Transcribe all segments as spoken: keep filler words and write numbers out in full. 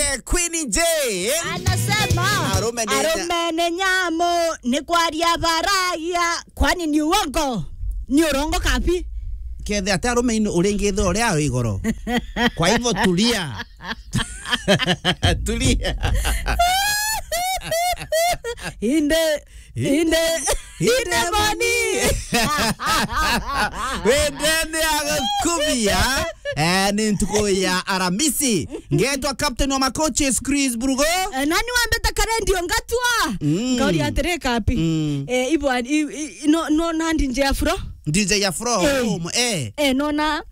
Eh, Queen J. Anasema, arume ni nya- arume ni nyamu, ni kwaria baragia, kwani ni uongo? Ni urongo kabi? Kethe ati arume ino uringithe uria ari igoro. Kwa hivyo tulia. Tulia. Inde, inde, inde moni. Wendene agakubia. Eh, ni ntuku ya Aramisi. Ngetwa Captain wa Macoaches, Chris Brugo. Eh, nani wambete karendio ngatwa? Mm. Ngauri atiri kapi. Mm. Eh, ibwa, i, i, no, no, na D J Afro. D J Afro, eh. Um, eh. Eh, nona.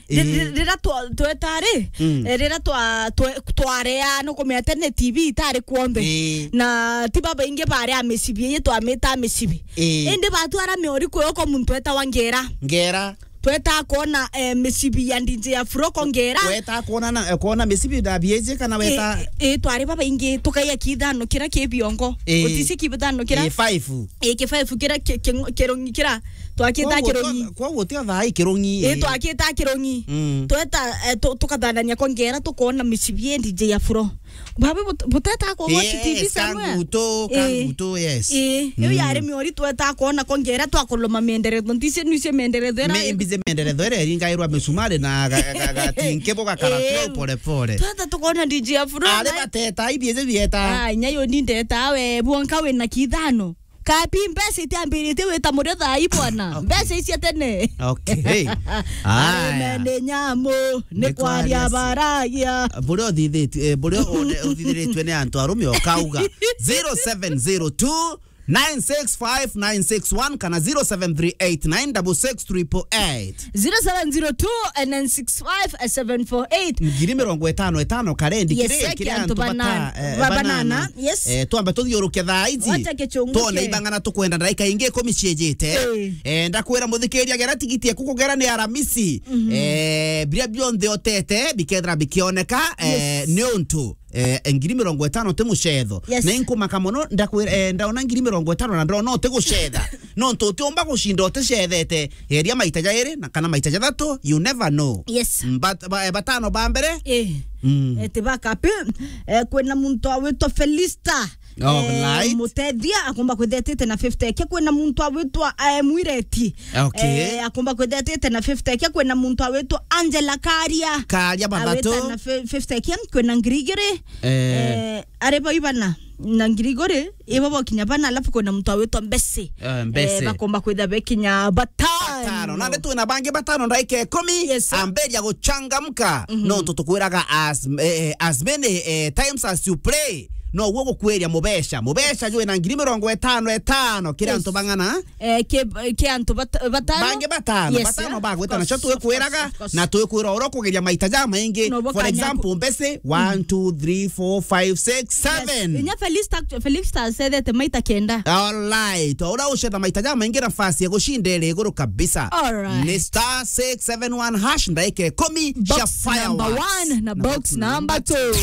Ri-, ri-, rira twa-, tweta ri, mm, eh, rira twa-, twe-, twarea, nukumenya tene T V itari kuonthe. Ii. Na ti babaingi baria micibi iji twamita micibi. Ii. Indi batwara miori kwi uko muntu etawa Ngera. Ngera. Tweta kwona, eh, micibi ya D J Afro ko Ngera. Weta kwona na, eh, kwona micibi da bieje kana weta? Ii, ii, twari babaingi tukaia kithano kira ki biongo. Ii. Utisi kithano kira? Ii, five. Ii, ki five kira ki-, ki-, kirungi kira. Twakita kirungi. Kwa guti thaa kirungi. Ii, twakita kirungi. Mm. Tweta, eh, tu-, tukathanania kwa Ngera, tukona micibi ya D J Afro. Babi but-, buteta kwa watch T V somewhere? Kangutu, eh, kangutu, yes. Eh, iyo yari miori tweta kwona kwa Ngera twakuluma mienderetho. Ntisi nise mienderetho era. Me-, mbize mienderetho era eringairwa misumari na ga-, ga-, ga-, gatinke buga karatu pole pole. Tweta tukona D J Afro. Ari na bateta, ibieze bieta. Ah, nyayo ni ndeta we, bwonka we na kithano. Kapi mbeca itiambirite wita murio thaa ii bwana. Okay. Mbeca icia tene. Okay. Aya. Arume ni nyamu, ni kwaria baragia. Buria uthithitie, eh, buria une-, uthithiritue ni antu arume ukauga. Zero seven zero two, nine six five, nine six one kana zero seven three eight, nine six six, triple eight. Zero seven zero two, nine six five, seven four eight. Ngiri mirongo itano itano karendi. Yes, kiri, eh, kiri antu antu bata-, bana-, eh, ba-, banana. Banana. Yes. Eh, twambe tuthiuruke thaa ici. Wacha kichunguke. Twone ibang'ana tukwenda ndaika ingi ikumi ciejite. Eh. Eh, ndakwira muthikiria gera tigiti eku kugera ni Aramisi. Mhm. Eh, biria bionthe otete bikethira bikioneka, eh, yes, ni untu, eh, ngiri mirongo itano ti mucetho. Yes. Na inkumaka mono, ndakwira, eh, ndaona ngiri mirongo itano na ndona uti gucetha. Nontu utiumba gucinda uticethete. Geria maita jairi na kana maita jathatu, you never know. Yes. Mbat-, ba-, eh, batano ba mbere. Eh. Mm. Eh, ti bakapi. Eh, kwina muntu awitwa Felista. Oh, eh, right. Mutethia akomba kwithetete na fifty. Ke kwina muntu awitwa, eh, Mwireti. Okay. Eh, akomba kwithetete na fifty. Ke kwina muntu awitwa Angela Karia. Karia bathatu. Awita na fi-, fifty. Ke kwina ngiri igiri. Eh. Eh, ari bau ibana na ngiri igiri, ibo bokinya bana, alafu kwina muntu awitwa Mbese. Eh, Mbese. Eh, bakomba kwitha bekinya batano. Batano. Nandi twina bangi batano ndaika ikumi. Yes, sir. Amberia guchangamka. Mhm. Nontu tukwiraga as, eh, as many, eh, times as you play, noguo gukwiria mubeca. Mubeca jwina ngiri mirongo itano itano kiri, yes, antu bang'ana. Eh, ke, ke antu bat-, batano. Bangi batano, yes, batano, eh, bagwetana. Of course, cio twikwiraga, of course, of course, na twikwira oro kugeria maita jamaingi. No, for example, Mbese, mm, one, two, three, four, five, six, seven. Yes. Inya Felista, Felista acethete maita kenda. All right. Ora ucetha maita jamaingi, nafasi ya gucinda iri iguru kabisa. All right. Ni star six seven one hash, ndaika ikumi cia fireworks. Box number one na box number two.